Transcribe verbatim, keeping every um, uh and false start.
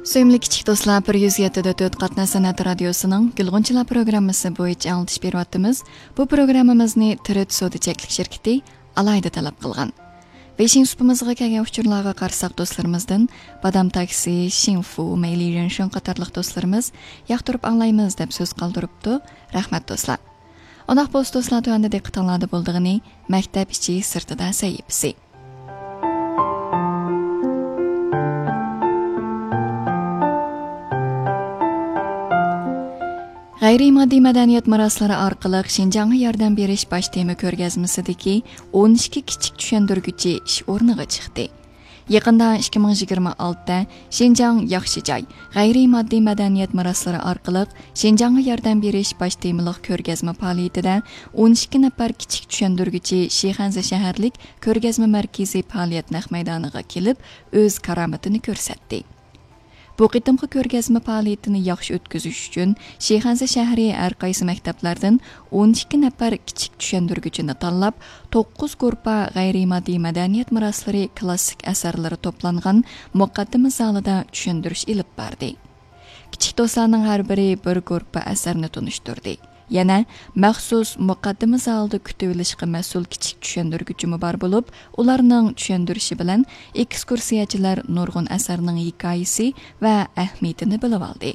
سۆيۈملۈك كىچىك دوستلار، بىر يۈز يەتتە دۆت قاتناش سەنئەت رادىيوسىنىڭ گۈلغۇنچىلار پروگراممىسى بويىچە ئاڭلىتىش بېرىۋاتىمىز. بۇ پروگراممىمىزنى تىرىت سودا چەكلىك شىركىتى ئالاھىدە تەلەپ قىلغان. ۋېيشىن سۇپىمىزغا كەلگەن ئۇچۇرلارغا قارىساق، دوستلىرىمىزدىن بادام تاكسى، شىنفۇ، مەيلى يۈەنشېن قاتارلىق دوستلىرىمىز ياقتۇرۇپ ئاڭلايمىز دەپ سۆز قالدۇرۇپتۇ. رەھمەت دوستلار. ئۇنداق بولسا دوستلار، تۆۋەندە دىققىتىڭلاردا بولىدىغىنى مەكتەپ ئىچى سىرتىدا سەھىپىسى. غەيرىي ماددىي مەدەنىيەت مىراسلىرى ئارقىلىق شىنجاڭغا ياردەم بېرىش باش تېما كۆرگەزمىسىدىكى ئون ئىككى كىچىك چۈشەندۈرگۈچى ئىش ئورنىغا چىقتى. يېقىندا ئىككى مىڭ يىگىرمە ئالتە شىنجاڭ ياخشى جاي، غەيرىي ماددىي مەدەنىيەت مىراسلىرى ئارقىلىق شىنجاڭغا ياردەم بېرىش باش تېمىلىق كۆرگەزمە پائالىيىتىدە ئون ئىككى نەپەر كىچىك چۈشەندۈرگۈچى شىخەنزە شەھەرلىك كۆرگەزمە مەركىزى پائالىيەت نەق مەيدانىغا كېلىپ، ئۆز كارامىتىنى كۆرسەتتى. بۇ قېتىمقى كۆرگەزمە پائالىيىتىنى ياخشى ئۆتكۈزۈش ئۈچۈن، شىخەنزە شەھىرى ھەر قايسى مەكتەپلەردىن ئون ئىككى نەپەر كىچىك چۈشەندۈرگۈچىنى تاللاپ، توققۇز گۇرۇپپا غەيرىي ماددىي مەدەنىيەت مىراسلىرى كلاسسىك ئەسەرلىرى توپلانغان مۇقەددىمە زالىدا چۈشەندۈرۈش ئېلىپ باردى. كىچىك دوستلارنىڭ ھەر بىرى بىر گۇرۇپپا ئەسەرنى تونۇشتۇردى. يەنە مەخسۇس مۇقەددىمە زالدا كۈتۈۋېلىشقا مەسئۇل كىچىك چۈشەندۈرگۈچىمۇ بار بولۇپ، ئۇلارنىڭ چۈشەندۈرۈشى بىلەن ئېكسكۇرسىيەچىلەر نۇرغۇن ئەسەرنىڭ ھېكايىسى ۋە ئەھمىيىتىنى بىلىۋالدى.